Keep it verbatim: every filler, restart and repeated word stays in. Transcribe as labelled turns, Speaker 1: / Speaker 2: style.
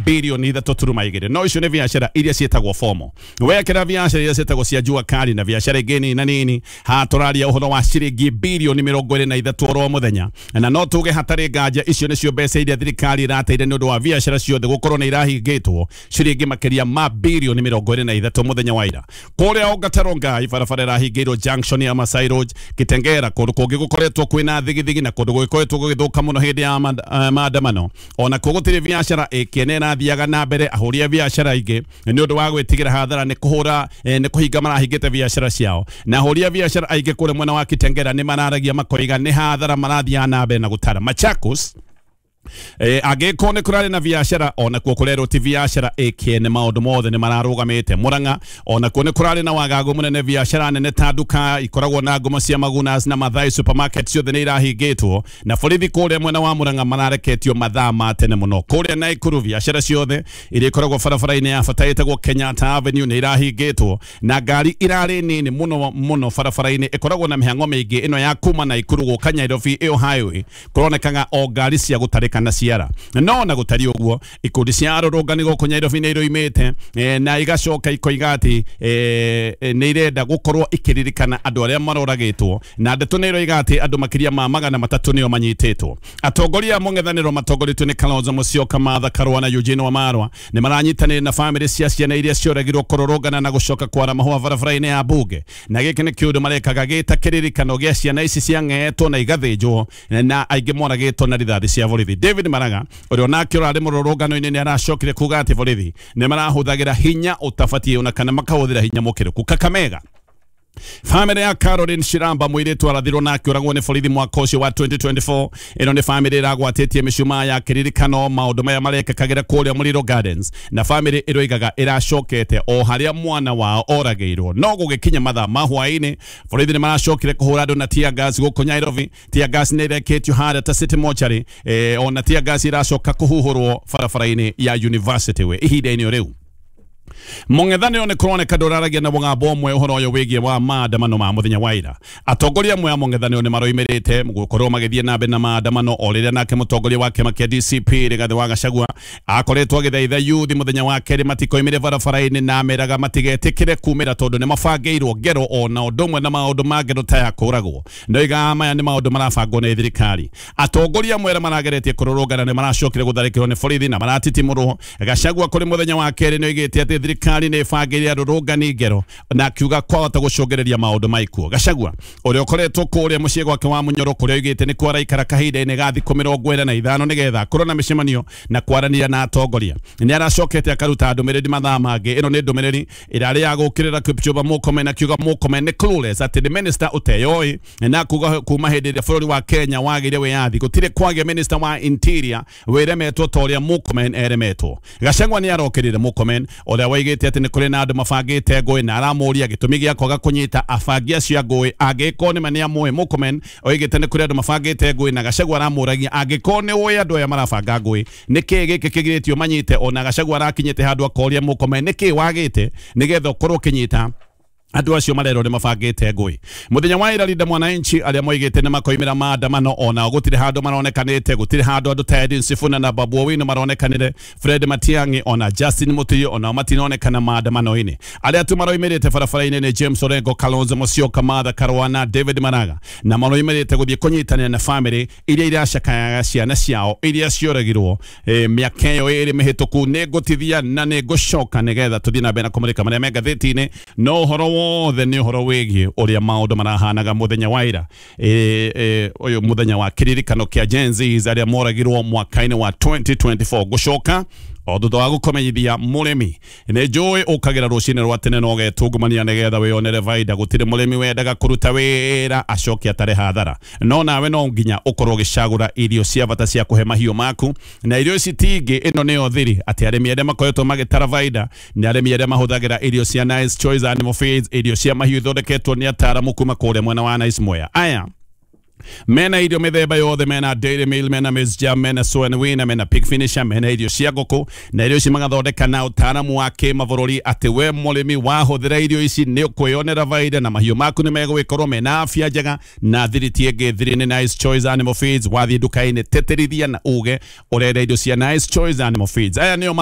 Speaker 1: bilioni ithatũ turuma igĩrĩ. No icio nĩ biacara iria ciĩtagwo formal. Wekĩra biacara iria ciĩtagwo cia jua kali na biacara ingĩ nini na nini, haha tũraria ũhoro wa ciringi bilioni mĩrongo ĩrĩ na ithatũ oro mũthenya. Na no tuge hatarĩ nganja icio nĩcio mbeca iria thirikari ĩrateire nĩ ũndũ wa biacara ciothe gũkorwo nĩ irahingĩtwo ciringi makĩria ma bilioni mĩrongo ĩrĩ na ithatũ mũthenya wa ira. Kũrĩa Ongata Rongai barabara ĩrahingĩirwo junction ya Masai Road Kitengera, kũndũ kũngĩ gũkoretwo kwĩna thigithigi na kũndũ gũgĩkoretwo gũgĩthũka mũno hĩndĩ ya maandamano. Ona kuo gũtirĩ biacara ĩkĩene ĩrathiaga na mbere. Ahũri a biacara aingĩ nĩ ũndũ wa gwĩtigĩra hathara nĩ kũhũra nĩ kũhinga marahingĩte biacara ciao, na ahũri a biacara aingĩ kũrĩa mwena wa Kitengera nĩ mararagia makoiga nĩ hathara marathiaga na mbere na gũtara. Machakos Eh, angĩkorwo nĩ kũrarĩ na biacara onakuo kũrerwo ti biacara ĩkĩene, maũndũ mothe nĩ mararũgamĩte. Murang'a onakuo nĩ kũrarĩ na wagagu mũnene, biacara nene ta nduka ikoragwo na ngumo cia Magunas na Mathai supermarket ciothe nĩ irahingĩtwo, na borithi kũrĩa mwena wa Murang'a marareketio mathaa ma tene mũno. Kũrĩa Naikuru biacara ciothe iria ikoragwo barabara-inĩ ya bata ĩtagwo Kenyatta Avenue nĩ irahingĩtwo, na ngari irarĩ nini mũno mũno barabara-inĩ ĩkoragwo na mĩhang'o mĩingĩ ĩno ya kuma Naikuru gũka Nairobi ĩyo highway, kũronekaga o ngari cia gũtarĩka na ciara. No na gũtari ũguo ikundi cia arũrũngani gũkũ Nairobi nĩ iroimĩte na igacoka ikoiga atĩ nĩ irenda gũkorwo ikĩririkana andũ arĩa maroragĩtwo, na ndeto nĩ iroiga atĩ andũ makĩria ma magana matatũ nĩo manyitĩtwo. Atongoria a mũng'ethanĩro matongoretio nĩ Kalonzo Musyoka, Martha Karua na Eugene Wamalwa nĩ maranyitanĩire na bamĩrĩ cia ciana iria cioragirwo kũrũrũngana na gũcoka kwara mahũa barabara-inĩ ya bunge, na gĩkĩ nĩ kĩũndũ marekaga gĩta kĩririkano gĩa ciana ici ciang'etwo na igathĩnjwo na aingĩ moragĩtwo na rithathi cia borithi. David Maraga ũrĩa onake ũrarĩ mũrũrũngano-inĩ nĩ aracokire kuga atĩ borithi nĩ marahũthagĩra hinya ũtabatiĩ ona kana makahũthĩra hinya mũkĩrũku. Kakamega family ya Caroline Shiramba mũirĩtu arathirwo na akĩũragwo nĩ borithi mwaka ũcio wa twenty twenty-four. Ĩno nĩ family ĩragwatĩtie mĩcumaa ya kĩririkano maũndũ maya marekĩkagĩra kũrĩa Muliro Gardens, na family ĩroigaga ĩracokete o harĩa mwana wao oragĩirwo. No gũgĩkinya mathaa ma hwaĩ-inĩ borithi nĩ maracokire kũhũra andũ na tear gas gũkũ Nairobi. Tear gas nĩ ĩrekĩtio harĩa ta City Mortuary, eh, ona tear gas ĩracoka kũhuhũrwo barabara-inĩ ya University Way ihinda-inĩ o rĩu. Mũng'ethanĩro nĩ kũroneka ndũraragia na mũgambo ũmwe ũhoro ũyũ wĩgiĩ wa maandamano ma mũthenya wa ira. Atongoria amwe a mũng'ethanĩro nĩ maroimĩrĩte gũkorwo magĩthiĩ na mbere na maandamano o rĩrĩa nake mũtongoria wa kĩama kĩa D C P Rigathĩ wa Gachagua akoretwo agĩthaitha youth mũthenya wa kerĩ matikoimĩre barabara-inĩ na ameraga matigetĩkĩre kumĩra tondũ nĩ mabangĩirwo ngero ona ũndũ ũmwe na maũndũ ma ngero ta ya kũragwo. Ndoiga maya nĩ maũndũ marabangwo nĩ thirikari. Atongoria amwe arĩa marageretie kũrũrũngana nĩ maracokire gũtharĩkĩrwo nĩ borithi na maratitimũrwo. Gachagua kũrĩ mũthenya wa kerĩ nĩ oigĩte atĩ thirikari nĩ ĩbangĩire arũrũngani ngero na akiuga kwahota gũcũngĩrĩria maũndũ ma ikuũ. Gachagua ũrĩa ũkoretwo kũrĩa mũciĩ gwake wa Munyoro kũrĩa oigĩte nĩ kuo araikara kahinda-inĩ ga thikũ mĩrongo ĩna na ithano nĩgetha akorwo na mĩcemanio na kwaranĩria na atongoria, nĩ aracokete akaruta ndũmĩrĩri mathaa mangĩ. Ĩno nĩ ndũmĩrĩri ĩrarĩ ya gũũkĩrĩra Kipchumba Murkomen, akiuga Murkomen nĩ clueless, atĩ nĩ minister ũteyoĩ, na kuga kuma hĩndĩ ĩrĩa bũrũri wa Kenya wagĩire wĩyathi gũtirĩ kwagĩa minister wa interior wĩremetwo ta ũrĩa Murkomen eremetwo. Gachagua nĩ arokĩrĩire Murkomen ũrĩa waigĩte atĩ nĩ kũrĩ na andũ mabangĩte ngũĩ na aramũria gĩtũmi gĩa kwaga kũnyita abangi acio a ngũĩ angĩkorwo nĩ ma nĩ amũĩ. Murkomen oigĩte nĩ kũrĩ andũ mabangĩte ngũĩ na Gachagua aramũragia angĩkorwo nĩ ũĩ andũ aya marabanga ngũĩ nĩkĩĩ gĩkĩ kĩgirĩtio manyite. Ona Gachagua arakinyĩte handũ akoria Murkomen nĩkĩĩ wagĩte nĩgetha ũkorwo ũkĩnyita andũ acio marerwo nĩ mabangĩte ngũĩ. Mũthenya wa ira Linda Mwananchi arĩa moigĩte nĩ makoimĩra maandamano ona gũtirĩ handũ maronekanĩte, gũtirĩ handũ andũ ta Edwin Sifuna na Babu Owino maronekanire, Fred Matiang'i ona Justin Muturi ona matinonekana maandamano-inĩ. Arĩa tu maroimĩrĩte barabara-inĩ nĩ James Orengo, Kalonzo Musyoka, Martha Karua na David Maraga, na maroimĩrĩte gũthiĩ kũnyitanĩra na family iria iracakayaga ciana ciao iria cioragirwo eh, mĩaka ĩyo ĩrĩ mĩhĩtũku. Nĩ ngũtithia na nĩ ngũcoka nĩgetha tũthiĩ na mbere na kũmũrĩka marĩa me ngathĩti-inĩ, no ũhoro wothe nĩ ũhoro wĩgiĩ ũrĩa maũndũ marahanaga mũthenya wa ira, ũyũ mũthenya wa kĩririkano kĩa Gen Zs arĩa moragirwo mwaka-inĩ wa twenty twenty-four. Gũcoka o thutha wa gũkũmenyithia mũrĩmi nĩ njũĩ ũkagĩra rũcinĩ rwa tene na ũgetungumania nĩgetha wĩyonere baida. Gũtirĩ mũrĩmi wendaga kũruta wĩra acoke atare hathara, no nawe no nginya ũkorwo ũgĩcagũra irio cia bata cia kũhe mahiũ maku, na irio ici ti ingĩ, ĩno nĩyo thiri atĩ arĩmi arĩa makoretwo magĩtara baida nĩ arĩmi arĩa mahũthagĩra irio cia Nice Choice Animal Feeds, irio cia mahiũ ithondeketwo nĩ ataaramu kuma kũrĩa mwena wa Nice Mwea. Aya mena irio mĩthemba yothe, mena dairy meal, mena maize jam, mena soy and winner, mena pig finisher, mena irio cia ngũkũ, na irio ici magathondeka na ũtaaramu wa kĩmabũrũri atĩ we mũrĩmi wahũthĩra irio ici nĩ ũkwĩyonera baida na mahiũ maku nĩ megũgĩkorwo mena afya njega. Na thiri ti ĩngĩ, thiri nĩ Nice Choice Animal Feeds. Wathiĩ nduka-inĩ tĩtĩrithia na uge ũrenda irio cia Nice Choice Animal Feeds. Aya nĩo